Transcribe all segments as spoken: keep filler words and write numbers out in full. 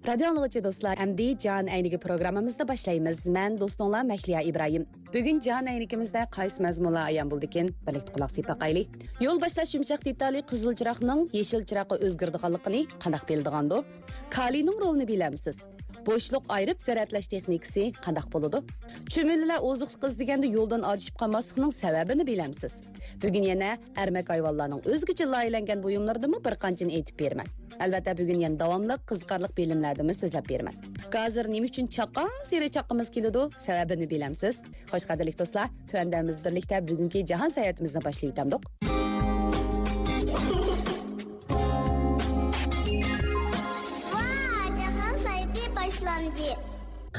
رادىيو ئاڭلىغۇچى دوستلار، ئەمدى جان ئەينىكى پروگراممىمىزنى باشلايمىز. مەن دوستۇڭلار مەھلىيا ئىبراھىم. بۈگۈن جان ئەينىكىمىزدە قايسى مەزمۇنلار ئايان بولىدىكىن، بىرلىكتە قۇلاق سېلىپ باقايلى. يول باشلاش يۇمشاق دېتالى قىزىل چىراغنىڭ يېشىل چىراغقا ئۆزگىرىدىغانلىقىنى قانداق بىلىدىغاندۇ؟ كالىينىڭ رولىنى بىلەمسىز؟ بوشلۇق ئايرىپ زەرەتلەش تېخنىكىسى قانداق بولىدۇ؟ چۈمۈلىلەر ئوزۇقلۇق ئىزدىگەندە يولدىن ئادىشىپ قالماسلىقنىڭ سەۋەبىنى بىلەمسىز؟ بۈگۈن يەنە ئەرمەك ھايۋانلارنىڭ ئۆزگىچە لايىھەلەنگەن بۇيۇملىرىدىنمۇ بىر قانچىنى ئېيتىپ بېرىمەن. ئەلۋەتتە، بۈگۈن يەنە داۋاملىق قىزىقارلىق بىلىملەردىنمۇ سۆزلەپ بېرىمەن. گازىر نېمە ئۈچۈن چاققانسېرى چاققىمىز كېلىدۇ؟ سەۋەبىنى بىلەمسىز؟ خوش، قەدىرلىك دوستلار، تۆۋەندە بىز بىرلىكتە بۈگۈنكى جاھان ساياھىتىمىزنى باشلىۋېتەمدۇق. ۋا، جاھان ساياھىتى باشلاندى.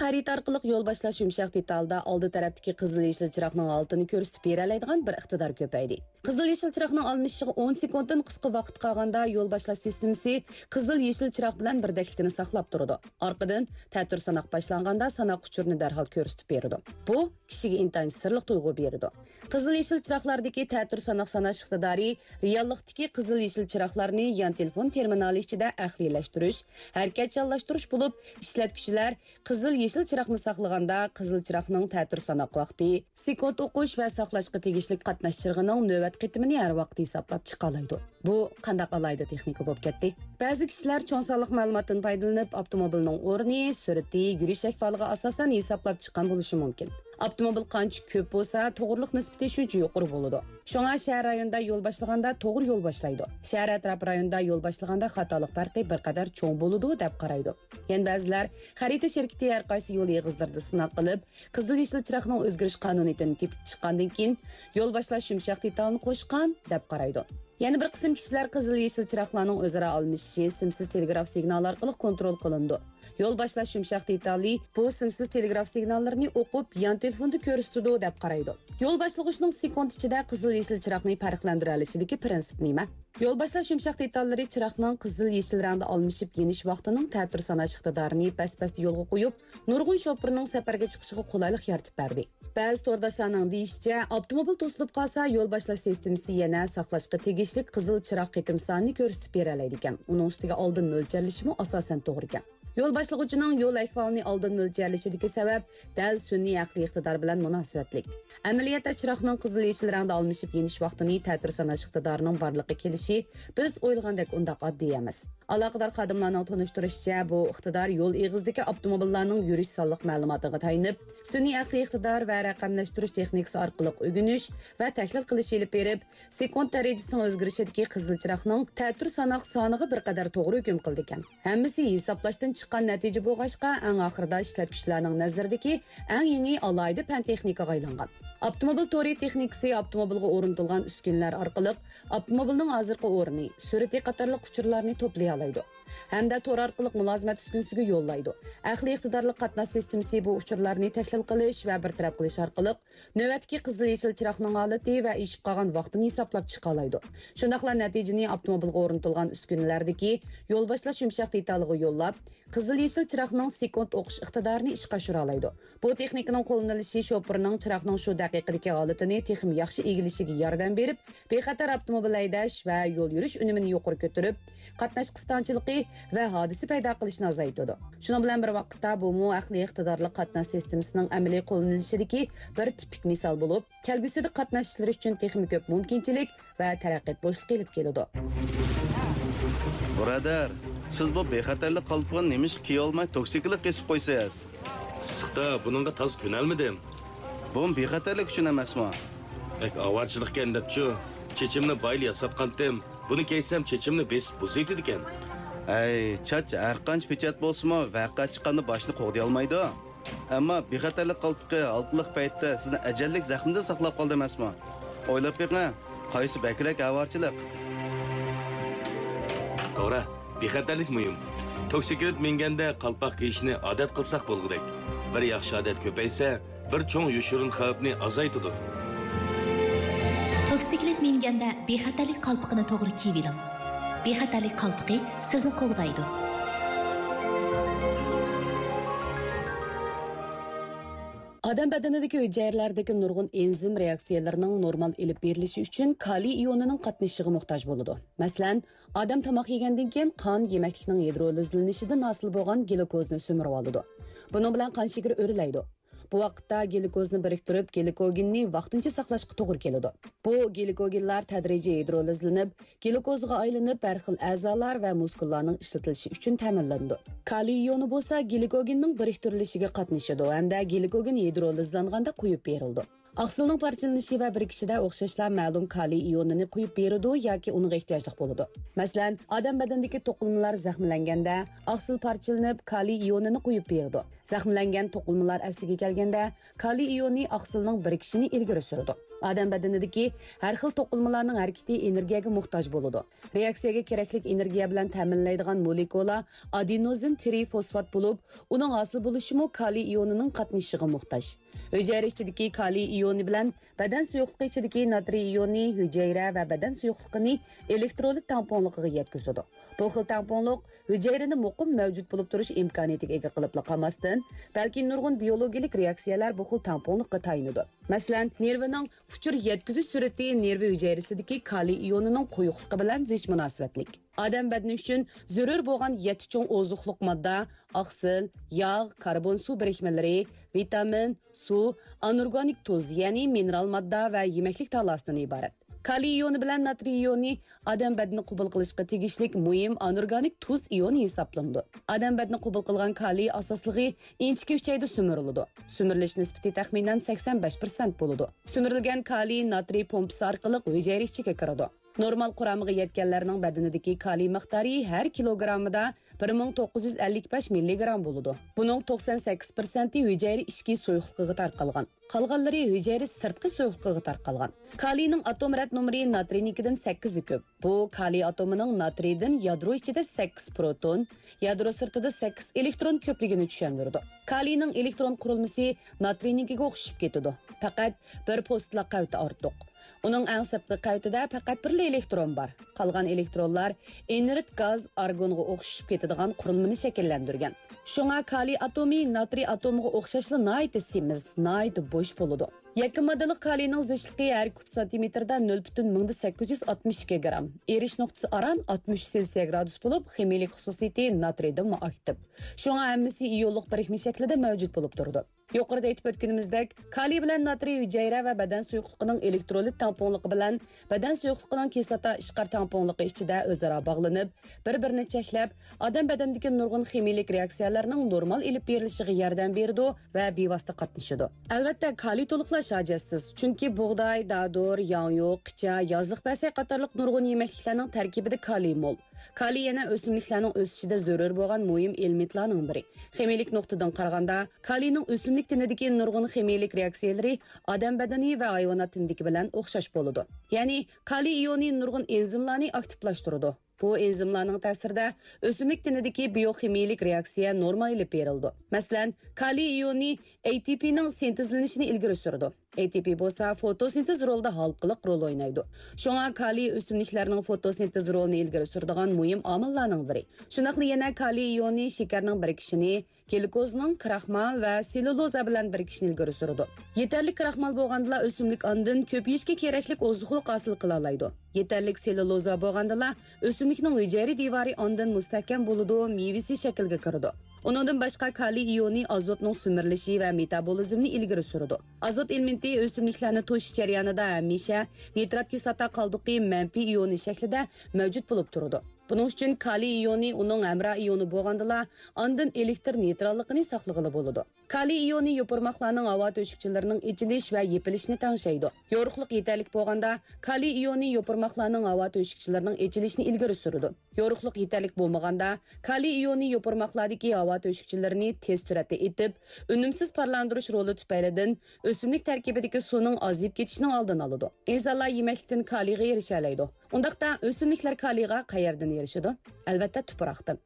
خەرىتە ئارقىلىق يول باشلاش يۇمشاق دېتالدا ئالدى تەرەپتىكى قىزىل يېشىل چىراغنىڭ ھالىتىنى كۆرسىتىپ بېرەلەيدىغان بىر ئىقتىدار كۆپەيدى. قىزىل يېشىل چىراغنىڭ ئالمىشىشىغا ئون سېكۇنتتىن قىسقا ۋاقىت قالغاندا، يول باشلاش سىستېمىسى قىزىل يېشىل چىراغ بىلەن بىردەكلىكىنى ساقلاپ تۇرىدۇ. ئارقىدىن تەتۈر ساناق باشلانغاندا، ساناق ئۇچۇرىنى دەرھال كۆرسىتىپ بېرىدۇ. بۇ كىشىگە ئىنتايىن سىرلىق تۇيغۇ بېرىدۇ. قىزىل يېشىل چىراغلاردىكى تەتۈر ساناق ساناش ئىقتىدارى رېئاللىقتىكى قىزىل يېشىل چىراغلارنى يان تېلېفون تېرمىنالى ئىچىدە ئەقلىيلەشتۈرۈش، ھەرىكەتچانلاشتۇرۇش بولۇپ، ئىشلەتكۈچىلەر قىزىل يېشىل چىراغنى ساقلىغاندا، قىزىل چىراغنىڭ تەتۈر ساناق ۋاقتى، سېكۇنت ئوقۇش ۋە ساقلاشقا تېگىشلىك قاتناش چىرىغىنىڭ نۆۋەت قېتىمىنى ھەر ۋاقىت ھېسابلاپ چىقالايدۇ. بۇ قانداق ئالاھىدە تېخنىكا بولۇپ كەتتى؟ بەزى كىشىلەر چوڭ سانلىق مەلۇماتتىن پايدىلىنىپ، ئاپتوموبىلنىڭ ئورنى، سۈرئىتى، يۈرۈش ئەھۋالىغا ئاساسەن ھېسابلاپ چىققان بولۇشى مۇمكىن. ئاپتوموبىل قانچە كۆپ بولسا، توغرىلىق نىسبىتى شۇنچە يۇقىرى بولىدۇ. شۇڭا شەھەر رايونىدا يول باشلىغاندا توغرا يول باشلايدۇ. شەھەر ئەتراپ رايونىدا يول باشلىغاندا خاتالىق پەرقى بىر قەدەر چوڭ بولىدۇ، دەپ قارايدۇ. يەنە بەزىلەر خەرىتە شىركىتى ھەر قايسى يول ئېغىزلىرىدا سىناق قىلىپ، قىزىل يېشىل چىراغنىڭ ئۆزگىرىش قانۇنىيىتىنى تېپىپ چىققاندىن كېيىن، يول باشلاش يۇمشاق دېتالىنى قوشقان، دەپ قارايدۇ. يەنە بىر قىسىم كىشىلەر قىزىل يېشىل چىراغلارنىڭ ئۆزئارا ئالمىشىشى سىمسىز تېلېگراف سىگنالى ئارقىلىق كونترول قىلىنىدۇ. يول باشلاش يۇمشاق دېتالى بۇ سىمسىز تېلېگراف سىگناللىرىنى ئوقۇپ، يان تېلېفوندا كۆرسىتىدۇ، دەپ قارايدۇ. يول باشلىغۇچنىڭ سېكۇنت ئىچىدە قىزىل يېشىل چىراغنى پەرقلەندۈرەلىشىدىكى پىرىنسىپ نېمە؟ يول باشلاش يۇمشاق دېتاللىرى چىراغنىڭ قىزىل يېشىل رەڭدە ئالمىشىپ يېنىش ۋاقتىنىڭ تەتۈر ساناش ئىقتىدارىنى بەس-بەستە يولغا قويۇپ، نۇرغۇن شوپۇرنىڭ سەپەرگە چىقىشىغا قولايلىق يارىتىپ بەردى. بەزى تورداشلارنىڭ دېيىشىچە، ئاپتوموبىل توسۇلۇپ قالسا، يول باشلاش سىستېمىسى يەنە ساقلاشقا تېگىشلىك قىزىل چىراغ قېتىم سانىنى كۆرسىتىپ بېرەلەيدىكەن. ئۇنىڭ ئۈستىگە ئالدىن مۆلچەرلىشىمۇ ئاساسەن توغرا ئىكەن. يول باشلىغۇچىنىڭ يول ئەھۋالىنى ئالدىن مۆلچەرلىشىدىكى سەۋەب دەل سۈنئىي ئەقلىي ئىقتىدار بىلەن مۇناسىۋەتلىك. ئەمەلىيەتتە، چىراغنىڭ قىزىل يېشىل رەڭدە ئالمىشىپ يېنىش ۋاقتىنى تەتۈر ساناش ئىقتىدارىنىڭ بارلىققا كېلىشى بىز ئويلىغاندەك ئۇنداق ئاددىي ئەمەس. ئالاقىدار خادىملارنىڭ تونۇشتۇرۇشىچە، بۇ ئىقتىدار يول ئېغىزىدىكى ئاپتوموبىللارنىڭ يۈرۈش سانلىق مەلۇماتىغا تايىنىپ، سۈنئىي ئەقلىي ئىقتىدار ۋە رەقەملەشتۈرۈش تېخنىكىسى ئارقىلىق ئۆگىنىش ۋە تەھلىل قىلىش ئېلىپ بېرىپ، سېكۇنت دەرىجىسىنىڭ ئۆزگىرىشىدىكى قىزىل چىراغنىڭ تەتۈر ساناق سانىغا بىر قەدەر توغرا ھۆكۈم قىلىدىكەن. ھەممىسى ھېسابلاشتىن چىققان نەتىجە بولغاچقا، ئەڭ ئاخىرىدا ئىشلەتكۈچىلەرنىڭ نەزىرىدىكى ئەڭ يېڭى ئالاھىدە پەن تېخنىكىغا ئايلانغان. ئاپتوموبىل تورى تېخنىكىسى ئاپتوموبىلغا ئورنىتىلغان ئۈسكۈنىلەر ئارقىلىق ئاپتوموبىلنىڭ ھازىرقى ئورنى، سۈرئىتى قاتارلىق ئۇچۇرلارنى توپلىيالايدۇ ھەمدە تور ئارقىلىق مۇلازىمەت ئۈسكۈنىسىگە يوللايدۇ. ئەقلىي ئىقتىدارلىق قاتناش سىستېمىسى بۇ ئۇچۇرلارنى تەھلىل قىلىش ۋە بىر تەرەپ قىلىش ئارقىلىق نۆۋەتتىكى قىزىل يېشىل چىراغنىڭ ھالىتى ۋە ئېشىپ قالغان ۋاقتىنى ھېسابلاپ چىقالايدۇ. شۇنداقلا نەتىجىنى ئاپتوموبىلغا ئورنىتىلغان ئۈسكۈنىلەردىكى يول باشلاش يۇمشاق دېتالىغا يوللاپ، قىزىل يېشىل چىراغنىڭ سېكۇنت ئوقۇش ئىقتىدارىنى ئىشقا ئاشۇرالايدۇ. بۇ تېخنىكىنىڭ قوللىنىلىشى شوپۇرنىڭ چىراغنىڭ شۇ دەقىقىدىكى ھالىتىنى تېخىمۇ ياخشى ئىگىلىشىگە ياردەم بېرىپ، بىخەتەر ئاپتوموبىل ھەيدەش ۋە يول يۈرۈش ئۈنۈمىنى يۇقىرى كۆتۈرۈپ، قاتناش قىستاڭچىلىقى ۋە ھادىسە پەيدا قىلىشنى ئازايتىدۇ. شۇنىڭ بىلەن بىر ۋاقىتتا، بۇمۇ ئەقلىي ئىقتىدارلىق قاتناش سىستېمىسىنىڭ ئەمەلىي قوللىنىلىشىدىكى بىر تىپىك مىسال بولۇپ، كەلگۈسىدە قاتناشچىلار ئۈچۈن تېخىمۇ كۆپ مۇمكىنچىلىك ۋە تەرەققىيات بوشلۇقى ئېلىپ كېلىدۇ. بۇرادەر، سىز بۇ بىخەتەرلىك قالپىقىنى نېمىشقا كىيەلمەي توكسىكلىق كېسىپ قويىسىز؟ ئىسسىقتا بۇنىڭغا تازا كۆنەلمىدىم. بۇمۇ بىخەتەرلىك ئۈچۈن ئەمەسمۇ؟ بەك ئاۋارىچىلىقكەن دەپچۇ. چېچىمنى بايىلا ياساتقانتىم. بۇنى كىيسەم چېچىمنى بېسىپ بۇزۇۋېتىدىكەن. ھەي، چاچ ھەرقانچە پېچەت بولسىمۇ، ۋەقە چىققاندا باشنى قوغدىيالمايدۇ. ئەمما بىخەتەرلىك قالپىقى ھالقىلىق پەيتتە سىزنى ئەجەللىك زەخمىدىن ساقلاپ قالدى ئەمەسمۇ؟ ئويلاپ بېقىڭ، قايسى بەكرەك ئاۋارىچىلىق؟ توغرا، بىخەتەرلىك مۇھىم. توكسىكلىت مىنگەندە قالپاق كىيىشنى ئادەت قىلساق بولغۇدەك. بىر ياخشى ئادەت كۆپەيسە، بىر چوڭ يوشۇرۇن خەۋپنى ئازايتىدۇ. توكسىكلىت مىنگەندە بىخەتەرلىك قالپىقىنى توغرا كىيىۋېلىڭ. بىخەتەرلىك قالپىقى سىزنى قوغدايدۇ. ئادەم بەدىنىدىكى ھۈجەيرىلەردىكى نۇرغۇن ئېنزىم رېئاكسىيەلىرىنىڭ نورمال ئېلىپ بېرىلىشى ئۈچۈن كالىي ئىيونىنىڭ قاتنىشىشىغا موھتاج بولىدۇ. مەسىلەن، ئادەم تاماق يېگەندىن كېيىن قان يېمەكلىكنىڭ گىدرولىزلىنىشىدىن ھاسىل بولغان گلۇكوزنى سۈمۈرۈۋالىدۇ. بۇنىڭ بىلەن قان شېكىرى ئۆرلەيدۇ. بۇ ۋاقىتتا گلۇكوزنى بىرىكتۈرۈپ، گلىكوگېننى ۋاقتىنچە ساقلاشقا توغرا كېلىدۇ. بۇ گلىكوگېنلار تەدرىجىي گىدرولىزلىنىپ، گلۇكوزغا ئايلىنىپ، ھەر خىل ئەزالار ۋە مۇسكۇللارنىڭ ئىشلىتىلىشى ئۈچۈن تەمىنلىنىدۇ. كالىي ئىيونى بولسا گلۇكوگېننىڭ بىرىكتۈرۈلۈشىگە قاتنىشىدۇ ھەمدە گلۇكوگېن گىدرولىزلانغاندا قۇيۇپ بېرىلىدۇ. ئاقسىلنىڭ پارچىلىنىشى ۋە بىرىكىشىدە ئوخشاشلا مەلۇم كالىي ئىيونىنى قۇيۇپ بېرىدۇ ياكى ئۇنىڭغا ئېھتىياجلىق بولىدۇ. مەسىلەن، ئادەم بەدىنىدىكى توقۇلمىلار زەخىملەنگەندە، ئاقسىل پارچىلىنىپ، كالىي ئىيونىنى قۇيۇپ بېرىدۇ. زەخىملەنگەن توقۇلمىلار ئەسلىگە كەلگەندە، كالىي ئىيونى ئاقسىلنىڭ بىرىكىشىنى ئىلگىرى سۈرىدۇ. ئادەم بەدىنىدىكى ھەر خىل توقۇلمىلارنىڭ ھەرىكىتى ئېنېرگىيەگە موھتاج بولىدۇ. رېئاكسىيەگە كېرەكلىك ئېنېرگىيە بىلەن تەمىنلەيدىغان مولېكۇلا ئادېنوزىن ترىفوسفات بولۇپ، ئۇنىڭ ھاسىل بولۇشىمۇ كالىي ئىيونىنىڭ قاتنىشىشىغا موھتاج. ھۈجەيرە ئىچىدىكى كالىي ئىيونى بىلەن بەدەن سۇيۇقلۇقى ئىچىدىكى ناترىي ئىيونى ھۈجەيرە ۋە بەدەن سۇيۇقلۇقىنى ئېلېكترولىت تەڭپۇڭلۇقىغا يەتكۈزىدۇ. بۇ خىل تەڭپۇڭلۇق ھۈجەيرىدە مۇقىم مەۋجۇت بولۇپ تۇرۇش ئىمكانىيىتىگە ئىگە قىلىپلا قالماستىن، بەلكى نۇرغۇن بىيولوگىيىلىك رېئاكسىيەلەر بۇ خىل تەڭپۇڭلۇققا تايىنىدۇ. مەسىلەن، نېرۋىنىڭ ئۇچۇر يەتكۈزۈش سۈرئىتى نېرۋا ھۈجەيرىسىدىكى كالىي ئىيونىنىڭ قويۇقلۇقى بىلەن زىچ مۇناسىۋەتلىك. ئادەم بەدىنى ئۈچۈن زۆرۈر بولغان يەتتە چوڭ ئوزۇقلۇق ماددا، ئاقسىل، ياغ، كاربون سۇ بىرىكمىلىرى، ۋىتامىن، سۇ، ئانورگانىك تۇز، يەنى مىنېرال ماددا ۋە يېمەكلىك تالاسىدىن ئىبارەت. كالىي ئىيونى بىلەن ناترىي ئىيونى ئادەم بەدىنى قوبۇل قىلىشقا تېگىشلىك مۇھىم ئانورگانىك تۇز ئىيونى ھېسابلىنىدۇ. ئادەم بەدىنى قوبۇل قىلغان كالىي ئاساسلىقى ئىنچىكە ئۈچەيدە سۈمۈرۈلىدۇ. سۈمۈرۈلۈش نىسبىتى تەخمىنەن سەكسەن بەش پىرسەنت بولىدۇ. سۈمۈرۈلگەن كالىي ناترىي پومپىسى ئارقىلىق ھۈجەيرە ئىچىگە كىرىدۇ. نورمال قۇرامىغا يەتكەنلەرنىڭ بەدىنىدىكى كالىي مىقدارى ھەر كىلوگراممىدا بىر مىڭ توققۇز يۈز ئەللىك بەش مىللىگرام بولىدۇ. بۇنىڭ توقسان سەككىز پىرسەنتى ھۈجەيرە ئىچكى سۇيۇقلۇقىغا تارقالغان. قالغانلىرى ھۈجەيرە سىرتقى سۇيۇقلۇقىغا تارقالغان. كالىينىڭ ئاتوم رەت نومۇرى ناترىينىڭكىدىن سەككىزدە كۆپ. بۇ كالىي ئاتومىنىڭ ناترىيدىن يادرو ئىچىدە سەككىز پروتون، يادرو سىرتىدا سەككىز ئېلېكترون كۆپلۈكىنى چۈشەندۈرىدۇ. كالىينىڭ ئېلېكترون قۇرۇلمىسى ناترىينىڭكىگە ئوخشىشىپ كېتىدۇ. پەقەت بىر پوستىلا قەۋىتى ئارتۇق. ئۇنىڭ ئەڭ سىرتقى قەۋىتىدە پەقەت بىرلا ئېلېكترون بار. قالغان ئېلېكترونلار ئىنېرت گاز ئارگونغا ئوخشىشىپ كېتىدىغان قۇرۇلمىنى شەكىللەندۈرگەن. شۇڭا كالىي ئاتومى ناترىي ئاتومىغا ئوخشاشلا ناھايىتى سېمىز، ناھايىتى بوش بولىدۇ. يەككە ماددىلىق كالىينىڭ زىچلىقى ھەر كۇب سانتىمېتىردا نۆل پۈتۈن مىڭدىن سەككىز يۈز ئاتمىش ئىككى گرام. ئېرىش نۇقتىسى ئاران ئاتمىش ئۈچ سېلسىيە گرادۇس بولۇپ، خىمىيىلىك خۇسۇسىيىتى ناترىيدىنمۇ ئاكتىپ. شۇڭا ھەممىسى ئىيونلۇق بىرىكمە شەكلىدە مەۋجۇت بولۇپ تۇرىدۇ. يۇقىرىدا ئېيتىپ ئۆتكىنىمىزدەك، كالىي بىلەن ناترىي ھۈجەيرە ۋە بەدەن سۇيۇقلۇقىنىڭ ئېلېكترولىت تەڭپۇڭلۇقى بىلەن بەدەن سۇيۇقلۇقىنىڭ كىسلاتا ئىشقار تەڭپۇڭلۇقى ئىچىدە ئۆزئارا باغلىنىپ، بىر-بىرىنى چەكلەپ، ئادەم بەدىنىدىكى نۇرغۇن خىمىيىلىك رېئاكسىيەلەرنىڭ نورمال ئېلىپ بېرىلىشىغا ياردەم بېرىدۇ ۋە بىۋاسىتە قاتنىشىدۇ. ئەلۋەتتە، كالىي تولۇقلاش ھاجەتسىز، چۈنكى بۇغداي، دادۇر، ياڭيۇ، قىچا، يازلىق پەسەي قاتارلىق نۇرغۇن يېمەكلىكلەرنىڭ تەركىبىدە كالىي مول. كالىي يەنە ئۆسۈملۈكلەرنىڭ ئۆسۈشىدە زۆرۈر بولغان مۇھىم ئېلېمېنتلارنىڭ بىرى. خىمىيىلىك نۇقتىدىن قارىغاندا، كالىينىڭ ئۆسۈملۈك تېنىدىكى نۇرغۇن خىمىيىلىك رېئاكسىيەلىرى ئادەم بەدىنى ۋە ھايۋانات تېنىدىكى بىلەن ئوخشاش بولىدۇ. يەنى، كالىي ئىيونى نۇرغۇن ئېنزىملارنى ئاكتىپلاشتۇرىدۇ. بۇ ئېنزىملارنىڭ تەسىرىدە ئۆسۈملۈك تېنىدىكى بىيوخىمىيىلىك رېئاكسىيە نورمال ئېلىپ بېرىلىدۇ. مەسىلەن، كالىي ئىيونى ئەي تى پىنىڭ سىنتېزلىنىشىنى ئىلگىرى سۈرىدۇ. ئەي تى پى بولسا فوتوسىنتېز رولىدا ھالقىلىق رول ئوينايدۇ. شۇڭا كالىي ئۆسۈملۈكلەرنىڭ فوتوسىنتېز رولىنى ئىلگىرى سۈرىدىغان مۇھىم ئامىللارنىڭ بىرى. شۇنداقلا يەنە كالىي ئىيونى شېكەرنىڭ بىرىكىشىنى، گلۇكوزنىڭ كراخمال ۋە سېللۇلوزا بىلەن بىرىكىشىنى ئىلگىرى سۈرىدۇ. يېتەرلىك كراخمال بولغاندىلا ئۆسۈملۈك ئاندىن كۆپىيىشكە كېرەكلىك ئوزۇقلۇق ھاسىل قىلالايدۇ. يېتەرلىك سېللۇلوزا بولغاندىلا ئۆسۈملۈكنىڭ ھۈجەيرە دىۋارى ئاندىن مۇستەھكەم بولىدۇ، مېۋىسى شەكىلگە كىرىدۇ. ئۇنىڭدىن باشقا كالىي ئىيونى ئازوتنىڭ سۈمۈرۈلۈشى ۋە مېتابولىزمنى ئىلگىرى سۈرىدۇ. ئازوت ئېلېمېنتى ئۆسۈملۈكلەرنى توشۇش جەريانىدا ھەمىشە نىترات كىسلاتا قالدۇقى مەنپىي ئىيونى شەكلىدە مەۋجۇت بولۇپ تۇرىدۇ. بۇنىڭ ئۈچۈن كالىي ئىيونى ئۇنىڭ ھەمراھ ئىيونى بولغاندىلا، ئاندىن ئېلېكتر نېيتراللىقىنى ساقلىغىلى بولىدۇ. كالىي ئىيونى يوپۇرماقلارنىڭ ھاۋا تۆشۈكچىلىرىنىڭ ئېچىلىش ۋە يېپىلىشىنى تەڭشەيدۇ. يورۇقلۇق يېتەرلىك بولغاندا، كالىي ئىيونى يوپۇرماقلارنىڭ ھاۋا تۆشۈكچىلىرىنىڭ ئېچىلىشىنى ئىلگىرى سۈرىدۇ. يورۇقلۇق يېتەرلىك بولمىغاندا، كالىي ئىيونى يوپۇرماقلاردىكى ھاۋا تۆشۈكچىلىرىنى تېز سۈرئەتتە ئېتىپ، ئۈنۈمسىز پارلاندۇرۇش رولى تۈپەيلىدىن ئۆسۈملۈك تەركىبىدىكى سۇنىڭ ئازىيىپ كېتىشىنىڭ ئالدىنى ئالىدۇ. ئىنسانلار يېمەكلىكتىن كالىيغا ئېرىشەلەيدۇ. ئۇنداقتا ئۆسۈملۈكلەر كالىيغا قەيەردىن ئېرىشىدۇ؟ ئەلۋەتتە، تۇپراقتىن.